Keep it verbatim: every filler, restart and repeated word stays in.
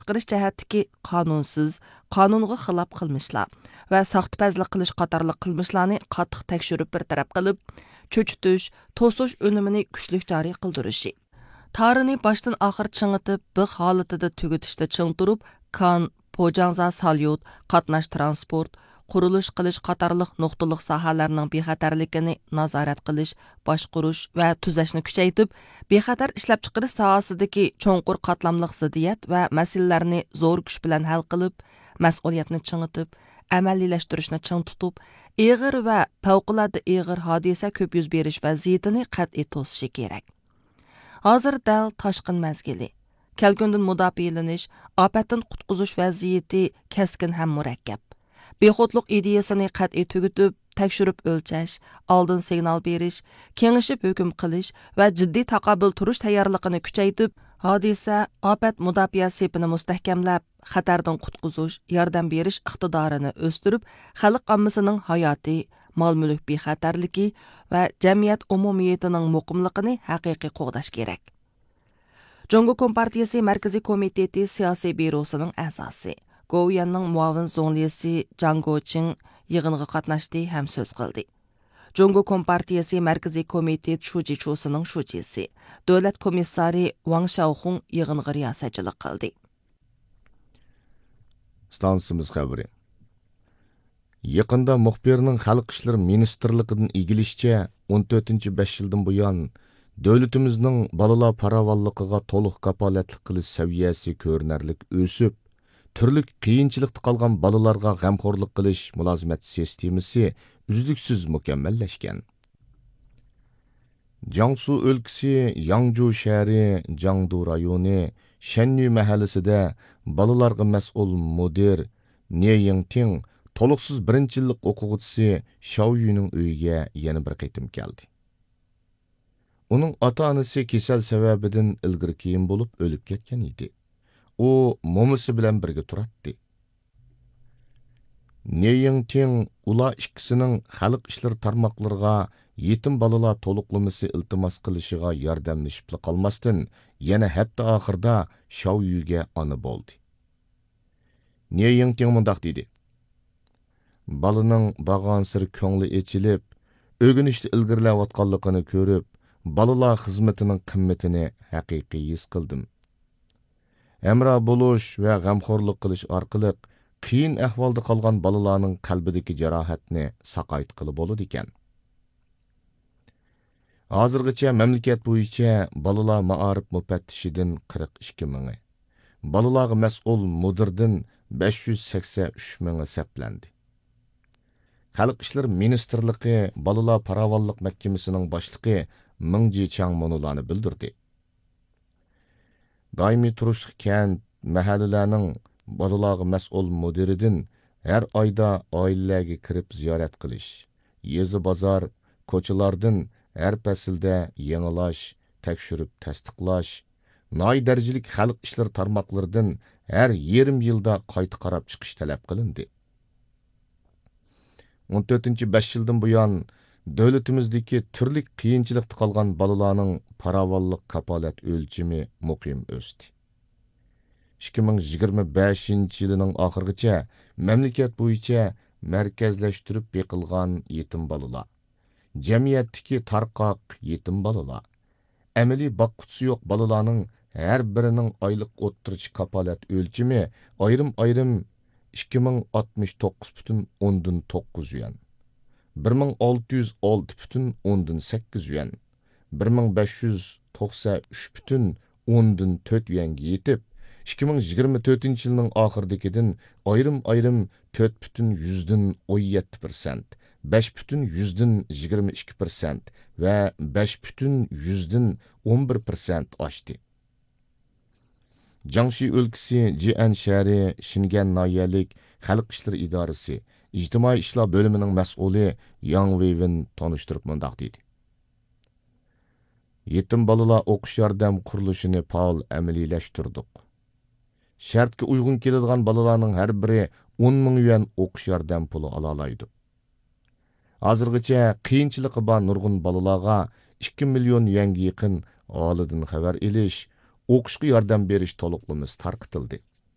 چىقىرىش جەھەتتىكى قانۇنسىز، قانۇنغا خىلاپ قىلمىشلار ۋە ساختىپەزلىك قىلىش قاتارلىق قىلمىشلارنى قاتتىق تەكشۈرۈپ بىر تەرەپ قىلىپ، چۆچۈتۈش، توسۇش ئۈنۈمىنى كۈچلۈك جارى قىلدۇرۇشى. تارىنى باشتىن ئاخىر چىڭىتىپ، بىخ ھالىتىدە تۈگىتىشتە چىڭ تۇرۇپ، كان، پوجاڭزا ساليۇت، قاتناش تىرانسپورت، قۇرۇلۇش قىلىش قاتارلىق نۇقتىلىق ساھەلەرنىڭ بىخەتەرلىكىنى نازارەت قىلىش، باشقۇرۇش ۋە تۈزەشنى كۈچەيتىپ، بىخەتەر ئىشلەپچىقىرىش ساھەسىدىكى چوڭقۇر قاتلاملىق زىددىيەت ۋە مەسىلىلەرنى زور كۈچ بىلەن ھەل قىلىپ، مەسئۇلىيەتنى چىڭىتىپ، ئەمەلىيلەشتۈرۈشنى چىڭ تۇتۇپ، ئېغىر ۋە پەۋقۇلئاددە ئېغىر ھادىسە كۆپ يۈز بېرىش ۋەزىيىتىنى قەتئىي توسۇشى كېرەك. ھازىر دەل تاشقىن مەزگىلى. كەلكۈندىن مۇداپىئەلىنىش، ئاپەتتىن قۇتقۇزۇش ۋەزىيىتى كەسكىن ھەم مۇرەككەپ. بىخۇدلۇق ئىدىيىسىنى قەتئىي تۈگىتىپ، تەكشۈرۈپ ئۆلچەش، ئالدىن سىگنال بېرىش، كېڭىشىپ ھۆكۈم قىلىش ۋە جىددىي تاقابىل تۇرۇش تەييارلىقىنى كۈچەيتىپ، ھادىسە، ئاپەت مۇداپىئە سېپىنى مۇستەھكەملەپ، خەتەردىن قۇتقۇزۇش، ياردەم بېرىش ئىقتىدارىنى ئۆستۈرۈپ، خەلق ئاممىسىنىڭ ھاياتى، مال-مۈلۈك بىخەتەرلىكى ۋە جەمئىيەت ئومۇمىيىتىنىڭ مۇقىملىقىنى ھەقىقىي قوغداش كېرەك. جۇڭگو كومپارتىيىسى مەركىزىي كومىتېتى سىياسىي بيۇروسىنىڭ ئەزاسى، گوۋۇيۈەننىڭ مۇئاۋىن زۇڭلىسى جاڭ گوچىڭ يىغىنغا قاتناشتى ھەم سۆز قىلدى. جۇڭگو كومپارتىيىسى مەركىزىي كومىتېت شۇجى چۇسىنىڭ شۇجىسى، دۆلەت كومىسسارى ۋاڭ شياۋخۇڭ يىغىنغا رىياسەتچىلىك قىلدى. ئىستانسىمىز خەۋىرى. يېقىندا مۇخبىرنىڭ خەلق ئىشلىرى مىنىستىرلىقىدىن ئىگىلىشىچە، ئون تۆتىنچى بەش يىلدىن بۇيان، دۆلىتىمىزنىڭ بالىلار پاراۋانلىقىغا تولۇق كاپالەتلىك قىلىش سەۋىيەسى كۆرۈنەرلىك ئۆسۈپ، تۈرلۈك قىيىنچىلىقتا قالغان بالىلارغا غەمخورلۇق قىلىش مۇلازىمەت سىستېمىسى ئۈزلۈكسىز مۇكەممەللەشكەن. جياڭسۇ ئۆلكىسى ياڭجۇ شەھىرى جاڭدۇ رايونى شەننۈ مەھەللىسىدە بالىلارغا مەسئۇل مۇدىر نې يىڭتىڭ تولۇقسىز بىرىنچى يىللىق ئوقۇغۇچىسى شاۋ يۈنىڭ ئۆيىگە يەنە بىر قېتىم كەلدى. ئۇنىڭ ئاتا-ئانىسى كېسەل سەۋەبىدىن ئىلگىرى كېيىن بولۇپ ئۆلۈپ كەتكەن ئىدى. ئۇ مومىسى بىلەن بىرگە تۇراتتى. نې يىڭتىڭ ئۇلار ئىككىسىنىڭ خەلق ئىشلىرى تارماقلىرىغا يېتىم بالىلار تولۇقلىمىسى ئىلتىماس قىلىشىغا ياردەملىشىپلا قالماستىن، يەنە ھەپتە ئاخىرىدا شاۋ يۈگە ئانا بولدى. نې يىڭتىڭ مۇنداق دېدى: بالىنىڭ بارغانسېرى كۆڭلى ئېچىلىپ، ئۆگىنىشتە ئىلگىرىلەۋاتقانلىقىنى كۆرۈپ، بالىلار خىزمىتىنىڭ قىممىتىنى ھەقىقىي ھېس قىلدىم. ھەمراھ بولۇش ۋە غەمخورلۇق قىلىش ئارقىلىق قىيىن ئەھۋالدا قالغان بالىلارنىڭ قەلبىدىكى جاراھەتنى ساقايتقىلى بولىدىكەن. ھازىرغىچە مەملىكەت بويىچە بالىلار مائارىپ مۇپەتتىشىدىن قىرىق ئىككى مىڭى، بالىلارغا مەسئۇل مۇدىردىن بەش يۈز سەكسەن ئۈچ مىڭى سەپلەندى. خەلق ئىشلىرى مىنىستىرلىقى بالىلار پاراۋانلىق مەھكىمىسىنىڭ باشلىقى مېڭ جىچاڭ مۇنۇلارنى بىلدۈردى: دائىمىي تۇرۇشلۇق كەنت، مەھەللىلەرنىڭ بالىلارغا مەسئۇل مۇدىرىدىن ھەر ئايدا ئائىلىلەرگە كىرىپ زىيارەت قىلىش، يېزا، بازار، كوچىلاردىن ھەر پەسىلدە يېڭىلاش، تەكشۈرۈپ تەستىقلاش، ناھىيە دەرىجىلىك خەلق ئىشلىرى تارماقلىرىدىن ھەر يېرىم يىلدا قايتا قاراپ چىقىش تەلەپ قىلىندى. ئون تۆتىنچى بەش يىلدىن بۇيان، دۆلىتىمىزدىكى تۈرلۈك قىيىنچىلىقتا قالغان بالىلارنىڭ پاراۋانلىق كاپالەت ئۆلچىمى مۇقىم ئۆستى. ئىككى مىڭ يىگىرمە بەشىنچى يىلىنىڭ ئاخىرىغىچە مەملىكەت بويىچە مەركەزلەشتۈرۈپ بېقىلغان يېتىم بالىلار، جەمئىيەتتىكى تارقاق يېتىم بالىلار، ئەمەلىي باققۇچىسى يوق بالىلارنىڭ ھەر بىرىنىڭ ئايلىق ئوتتۇرىچە كاپالەت ئۆلچىمى ئايرىم-ئايرىم ئىككى مىڭ ئاتمىش توققۇز پۈتۈن ئوندىن توققۇز يۈەن، بىر مىڭ ئالتە يۈز ئالتە پۈتۈن ئوندىن سەككىز يۈەن، بىر مىڭ بەش يۈز توقسەن ئۈچ پۈتۈن ئوندىن تۆت يۈەنگە يېتىپ، ئىككى مىڭ يىگىرمە تۆتىنچى يىلنىڭ ئاخىرىدىكىدىن ئايرىم-ئايرىم تۆت پۈتۈن يۈزدىن ئون يەتتە پىرسەنت، بەش پۈتۈن يۈزدىن يىگىرمە ئىككى پىرسەنت ۋە بەش پۈتۈن يۈزدىن ئون بىر پىرسەنت ئاشتى. جياڭشى ئۆلكىسى جيەن شەھىرى شىنگەن ناھىيەلىك خەلق ئىشلىرى ئىدارىسى ئىجتىمائىي ئىشلار بۆلۈمىنىڭ مەسئۇلى ياڭ ۋېيۋېن تونۇشتۇرۇپ مۇنداق دېدى: يېتىم بالىلار ئوقۇش ياردەم قۇرۇلۇشىنى پائال ئەمەلىيلەشتۈردۇق. شەرتكە ئۇيغۇن كېلىدىغان بالىلارنىڭ ھەر بىرى ئون مىڭ يۈەن ئوقۇش ياردەم پۇلى ئالالايدۇ. ھازىرغىچە قىيىنچىلىقى بار نۇرغۇن بالىلارغا ئىككى مىليون يۈەنگە يېقىن ئاھالىدىن خەۋەر ئېلىش، ئوقۇشقا ياردەم بېرىش تولۇقلىمىسى تارقىتىلدى.